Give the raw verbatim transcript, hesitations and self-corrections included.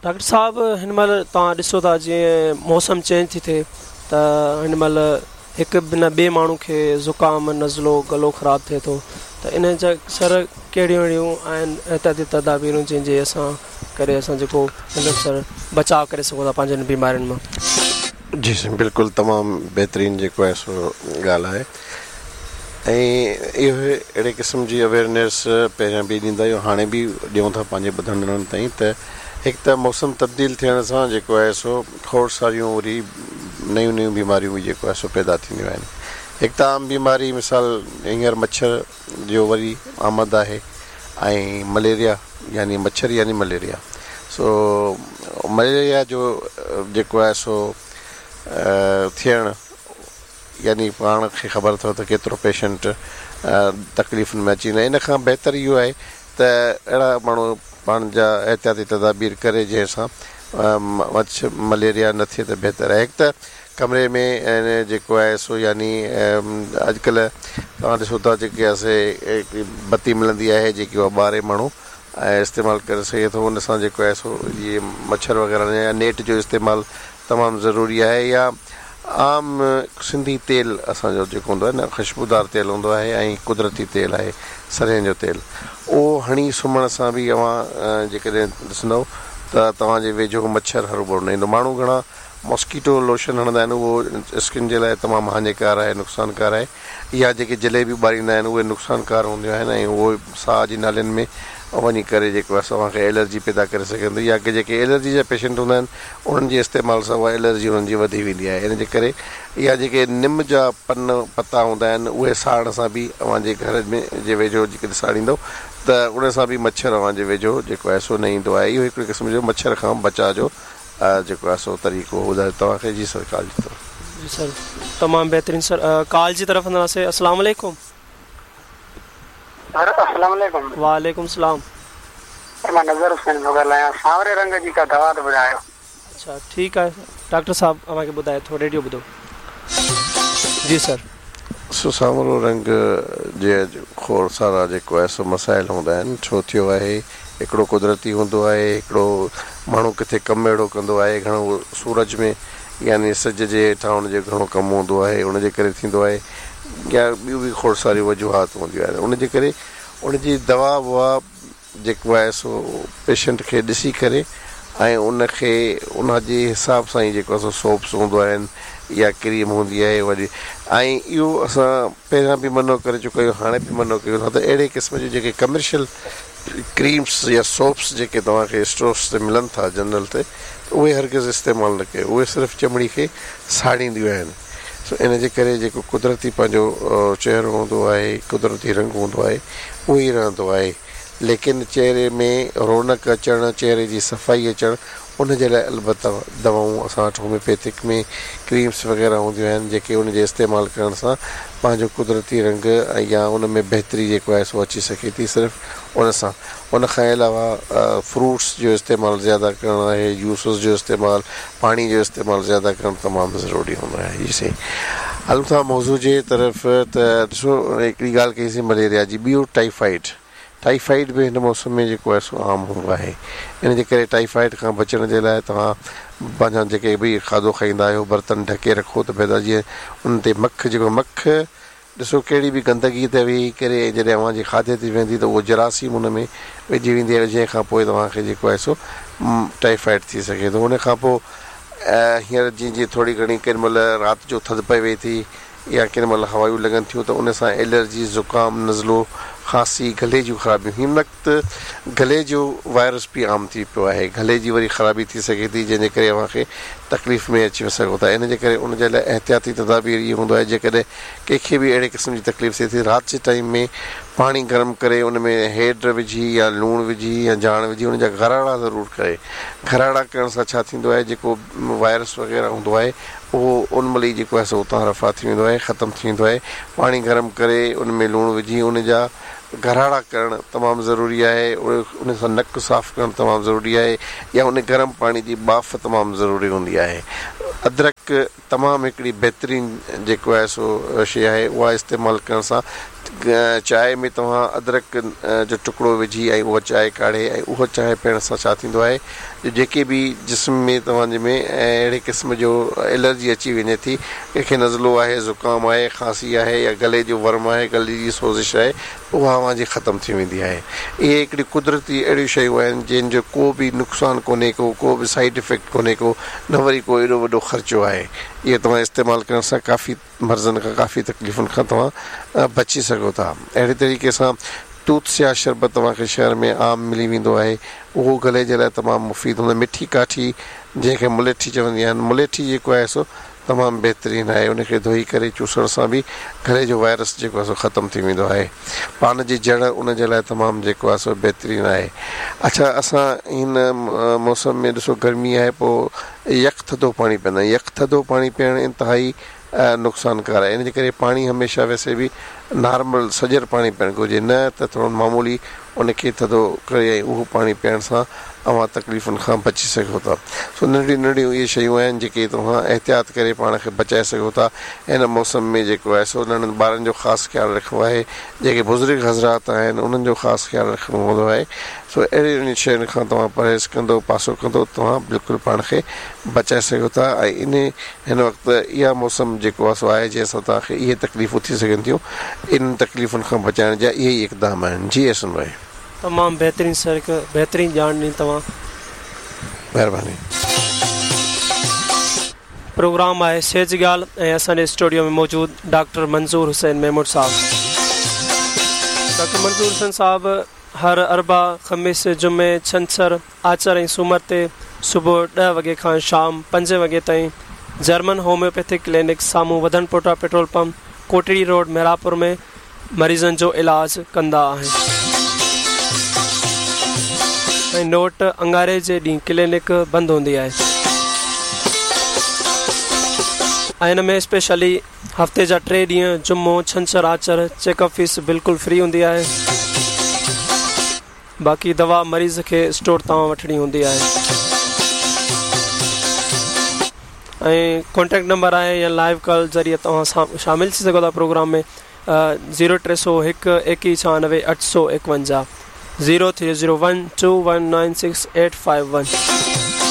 Doctor صاحب، هن مهل توهان ڏسو ٿا جيئن موسم چينج ٿي ٿئي ته هن مهل هڪ بنا ٻئي ماڻهو کي زڪام، نزلو، گلو خراب ٿئي ٿو ته ان جا سر ڪهڙيون اهڙيون آهن احتياطي تدابيرون جنهن جي اسان ڪري اسان جيڪو مطلب سر بچاء ڪري سگهون ٿا پنهنجن بيمارين مان؟ جي سائين، بلڪل تمام بهترين جيڪو آهي سو ڳالهه آهي ۽ اهو اهڙي قسم جي اويئرنيس پهريان به ڏيندا آهيون، هاڻي به ڏيون ٿا پنهنجي ٻڌندڙن تائين ته هڪ ته موسم تبديل ٿيڻ سان جيڪو آهي سو کوڙ ساريون وري نيون نيون بيماريون به جيڪو آهي سو پيدا ٿينديون آهن. هڪ ته عام بيماري، مثال هينئر مڇر جو وري آمد آهي ۽ مليريا، يعني مڇر يعني مليريا. سو مليريا جو جيڪو آهي سو ٿيڻ يعني پاڻ کي خبر اٿو ته ڪيترو پيشنٽ تڪليفن ۾ اچي ويندا. ان کان بهتر اهو آهي ته اهڙا ماڻهو پاڻ جا احتياطي تدابير ڪري جنهن سان مڇ مليريا نه ٿئي ته بهتر آهي. هڪ ته ڪمري ۾ جيڪو آهي سو يعني اڄڪلهه توهان ڏسو ٿا جيڪي اسي هڪڙي بتي ملندي آهي جيڪي اها ٻاري ماڻهو ۽ استعمال ڪري سگهي ٿو، ان سان جيڪو آهي سو اهي مڇر وغيره يا نيٽ جو استعمال تمام ضروري آهي. يا عام سنڌي تيل اسان جو جيڪو هوندو آهي نه، خوشبودار تيل هوندو آهي ۽ قدرتي تيل آهي سرهين جو تيل، اهو هڻي سمهڻ سان به اوهان جيڪڏهن ڏسندؤ ته توهان جي ويجهو مڇر هروڀرو نه ايندو. ماڻهو گهڻا ماسڪيٽو لوشن هڻندا آهن، اهو اسڪن جي لاء تمام هاڃيڪار آهي، نقصانڪار آهي. يا جيڪي جليبيون ٻاريندا آهن اهي نقصانڪار هونديون آهن ۽ اهو ساهه جي نالين ۾ وڃي ڪري جيڪو آهي توهان کي الرجي پيدا ڪري سگهن ٿي. يا جيڪي الرجي جا پيشنٽ هوندا آهن انهن جي استعمال سان اها الرجي انهن جي وڌي ويندي آهي. ان جي ڪري يا جيڪي نم جا پن پتا هوندا آهن اهي ساڙڻ سان به اوهان جي گهر ۾ جي ويجهو جيڪڏهن ساڙيندو ته ان سان به مڇر اوهان جي ويجهو جيڪو آهي سو نه ايندو آهي. اهو هڪڙي قسم جو مڇر کان بچاء جو جيڪو آهي سو طريقو ٻڌايو توهان کي. جي سر، ڪال جي طرف. جي سر، تمام بهترين سر، ڪال جي طرف هلنداسين. السلام عليڪم. سر السلام عليڪم. وعليڪم السلام. سر مان نظر حسين ٿو ڳالهايان، سانوري رنگ جي ڪا دوا ته ٻڌايو. اڇا ٺيڪ آهي، ڊاڪٽر صاحب اوهان کي ٻڌائي ٿو، ريڊيو ٻڌو. جي سر. سو سانورو رنگ جي کوڙ سارا جيڪو آهي سو مسائل هوندا آهن. ڇو ٿيو آهي؟ هڪڙو قدرتي هوندو آهي، هڪڙو ماڻهو ڪٿي ڪم اهڙو ڪندو آهي گهڻو سورج ۾ يعني سج جي هيٺان ان جو گهڻو ڪم هوندو آهي، ان جي ڪري ٿيندو آهي، يا ٻيون به کوڙ ساريون وجوهات هونديون آهن. ان جي ڪري ان جي دوا ووا جيڪو آهي سو پيشنٽ کي ڏسي ڪري ۽ ان کي ان جي حساب سان ئي جيڪو آهي سو سوپس هوندو آهن يا ڪريم هوندي آهي وري. ۽ اهو اسان پهريان به منع ڪري چڪا آهيون، هاڻي به منع ڪيون ٿا ته اهڙي قسم جون جيڪي ڪمرشل ڪريمس يا سوپس جيڪي توهان کي اسٽورس تي ملن ٿا جنرل تي، اهي هرگز استعمال نه ڪيو، اهي صرف چمڙي کي ساڙينديون آهن. سو ان جي ڪري جيڪو قدرتي پنهنجو چهرو هوندو آهي، قدرتي رنگ هوندو آهي، اهو ئي رهندو آهي. ليڪن چهري ۾ رونق اچڻ، چهري جي صفائي اچڻ، ان جي لاءِ البته دوائون اسان وٽ هوميوپيٿڪ ۾ ڪريمس وغيره هونديون آهن جيڪي ان جي استعمال ڪرڻ سان پنهنجو قدرتي رنگ يا ان ۾ بهتري جيڪو آهي سو اچي سگهي ٿي صرف ان سان. ان کان علاوه فروٽس جو استعمال زياده ڪرڻ آهي، جوسز جو استعمال، پاڻي جو استعمال زياده ڪرڻ تمام ضروري هوندو آهي. جي سائين، هلون ٿا موضوع جي طرف. ته ڏسو، هڪڙي ڳالهه ڪئيسين مليريا جي، ٻيو ٽائيفائيڊ. ٽائيفائيڊ به هن موسم ۾ جيڪو آهي سو عام هوندو آهي. ان جي ڪري ٽائيفائيڊ کان بچڻ جي لاءِ توهان پنهنجا جيڪي به کاڌو کائيندا آهيو برتن ڍڪي رکو ته بهتر، جيئن ان تي مک جيڪو مک ڏسو ڪهڙي به گندگي تي ويهي ڪري ۽ جڏهن اوهان جي کاڌي تي ويندي ته اهو جراثيم ان ۾ وجهي ويندي آهي، جنهن کان پوءِ توهان کي جيڪو آهي سو ٽائيفائيڊ ٿي سگهي ٿو. ان کان پوءِ هينئر جيئن جيئن ٿوري گهڻي ڪنهن مهل رات جو ٿڌ پوي ٿي يا ڪنهن مهل هوائون لڳن ٿيون ته ان سان الرجي، زڪام، نزلو، کانسي، گلي جون خرابيون. هن وقت گلي جو وائرس به عام ٿي پيو آهي، گلي جي وري خرابي ٿي سگهي ٿي جنهن جي ڪري اوهان کي تڪليف ۾ اچي سگهو ٿا. ان جي ڪري ان جي لاءِ احتياطي تدابير اهو هوندو آهي جيڪڏهن ڪنهن کي به اهڙي قسم جي تڪليف ٿئي ٿي، رات جي ٽائيم ۾ پاڻي گرم ڪري ان ۾ هيڊ وجهي يا لوڻ وجهي يا جاڻ وجهي ان جا گراڙا ضرور ڪري. گراڙا ڪرڻ سان ڇا ٿيندو آهي، جيڪو وائرس وغيره هوندو آهي اهو ان مهل ئي جيڪو آهي سو اتان رفع ٿي ويندو آهي، ختم ٿي ويندو آهي. پاڻي گرم ڪري ان ۾ لوڻ وجهي ان جا گراڙا ڪرڻ تمام ضروري آهي. ان سان نڪ صاف ڪرڻ تمام ضروري آهي يا ان گرم پاڻي جي ٻاڦ تمام ضروري هوندي آهي. ادرڪ تمام هڪڙي بهترين جيڪو آهي سو شيءِ آهي، اها استعمال ڪرڻ سان چانهه ۾ توهان ادرڪ جو ٽڪڙو وجهي ۽ اها چانهه ڪاڙهي ۽ اهو چانهه پيئڻ سان ڇا ٿيندو آهي جو جيڪي به جسم ۾ توهان جي ۾ اهڙي قسم جو الرجي اچي وڃي ٿي، ڪنهن کي نزلو آهي، زڪام آهي، کانسي آهي يا گلي جو ورم آهي، گلي جي سوزش آهي، اها اوهان جي ختم ٿي ويندي آهي. اهي هڪڙي قدرتي اهڙيون شيون آهن جن جو ڪو به نقصان ڪونهي ڪو، ڪو به سائيڊ افيڪٽ ڪونهي ڪو، نه وري ڪو ايڏو وڏو خرچو آهي. اهي توهان استعمال ڪرڻ سان ڪافي مرضن کان، ڪافي تڪليفن کان توهان بچي سگهو ٿا. اهڙي طريقي سان توت سياهه شربت توهان کي شهر ۾ عام ملي ويندو آهي، اهو گلي جي لاء تمام مفيد هوندو آهي. مٺي ڪاٺي جنهن کي مليٺي چوندي آهن، مليٺي جيڪو آهي سو تمام بهترين آهي، ان کي ڌوئي ڪري چوسڻ سان به گلي جو وائرس جيڪو آهي سو ختم ٿي ويندو آهي. پان جي جڙ ان جي لاء تمام جيڪو آهي سو بهترين آهي. اڇا اسان هن موسم ۾ ڏسو گرمي آهي پوء يخ ٿڌو پاڻي پيئندا آهيون. يخ ٿڌو پاڻي پيئڻ انتهائي نقصانڪار آهي، ان جي ڪري پاڻي هميشه ويسي به نارمل سڄر پاڻي پيئڻ گهرجي، نه ته ٿورو معمولي ان کي ٿڌو ڪري ۽ اهو پاڻي پيئڻ سان اوهان تڪليفن کان بچي سگهو ٿا. سو ننڍڙيون ننڍڙيون اهي شيون آهن جيڪي توهان احتياط ڪري پاڻ کي بچائي سگهو ٿا. هن موسم ۾ جيڪو آهي سو ننڍن ٻارن جو خاص خيال رکڻو آهي، جيڪي بزرگ حضرات آهن انهن جو خاص خيال رکڻو هوندو آهي. سو اهڙين شين کان توهان پرهيز ڪندو، پاسو ڪندو، توهان بلڪل پاڻ کي بچائي سگهو ٿا. ۽ ان هن وقت اها موسم جيڪو آهي سو آهي جنهن سان توهان کي اهي تڪليفون ٿي سگهن ٿيون، انهن تڪليفن کان بچائڻ جا اهي ئي اقدام آهن. جي احسن ڀائي. تمام بهترين سر، هڪ بهترين ڄاڻ ڏني توهان. مهرباني. پروگرام آهي صحت جي ڳالهه ۽ اسان جي اسٽوڊيو ۾ موجود ڊاڪٽر منظور حسين محمود صاحب. ڊاڪٽر منظور حسين صاحب هر اربع، خميس، جمعي، ڇنڇر، آچر ۽ سومر تي صبح ڏهه وڳي کان شام پنج وڳي تائين جرمن هوميوپيٿڪ ڪلينڪ سامهون وڌن پوٽا petrol pump Kotri road Mehrapur ۾ مريضن جو علاج ڪندا آهن. ۽ نوٽ اڱاري جي ڏينهن ڪلينڪ بند هوندي آهي ۽ ان ۾ اسپيشلي هفتي جا ٽي ڏينهن جمعو، ڇنڇر، آچر چيڪ اپ فيس بلڪل فري هوندي آهي. باقي دوا مريض کي اسٽور تان وٺڻي هوندي آهي. ۽ ڪانٽيڪٽ نمبر آهي يا لائيو ڪال ذريعي توهان شامل ٿي سگهو ٿا پروگرام ۾ زيرو ٽي سؤ هڪ ايڪيهه ڇهانوي اٺ سؤ ايڪونجاهه zero three zero one two one nine six eight five one.